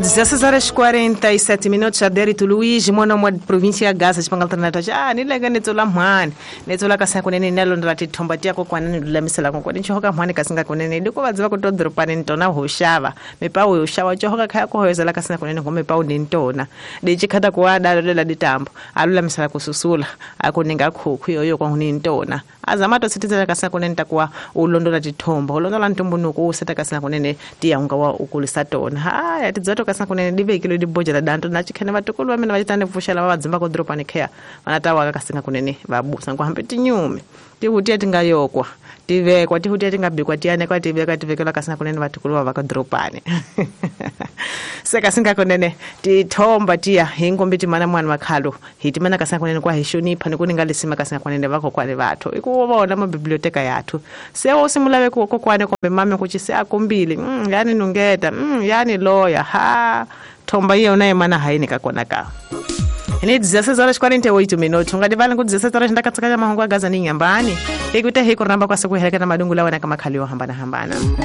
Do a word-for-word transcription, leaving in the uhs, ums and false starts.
dezesseis horas e quarenta e sete minutos, Adérito Luiz, mwana mwa província ya Gaza, xipanga alternativa. Ah, ni lenga ni tsola mhani. Ni tsola ka sanku nene nalo la tithomba tiya kokwana ni lulamisela kokwana. Ni chohoka mhani ka singa kunene. Loko va dziva ku to dropani ni tona ho xava. Mipawu yo xava chohoka khaya ku hoyozela ka singa kunene ngome pawu ni ntona. Di chikhata ku wa dalo lela ditambo. A lulamisela ku susula. A ku ninga khukhu yoyo kwa ni ntona. Azama to sitizela ka singa kunene takuwa u londola tithomba. U londola ntumbunuko u seta ka singa kunene tiya unga wa ukulisa tona. Ha, ya tidzato ka singa kunene divekile dibojela danto na chikhene vatukulu va mina va chitane pfuxela va vadzimba ku dropani kheya vana ta waka ka singa kunene va busa ku hambi tinyume tihutiya ti nga yokwa ti vekwa tihutiya ti nga bikwa ti anekwa ti vekwa ti vekela ka singa kunene vatukulu va va ka dropani se ka singa kunene tithomba tiya hi ngombe timana mwana makhalo hi timana ka singa kunene kwa hi xonipha ni ku ninga lesima ka singa kunene va kokwani vathu i ku vona ma biblioteka yathu se wo simulave ku kokwani kumbe mame ku ci se a kombile mm, yani nungeta mm, yani loya ha thomba yona yemana hayini ka kona ka ni dezesseis horas e quarenta e oito minutos unga divali ku dezesseis horas ndakatsakanya mahungu ya Gaza ni nyambani hikuta hiku ramba kwa siku heleka na madungu lawa na kama khali yo hambana hambana.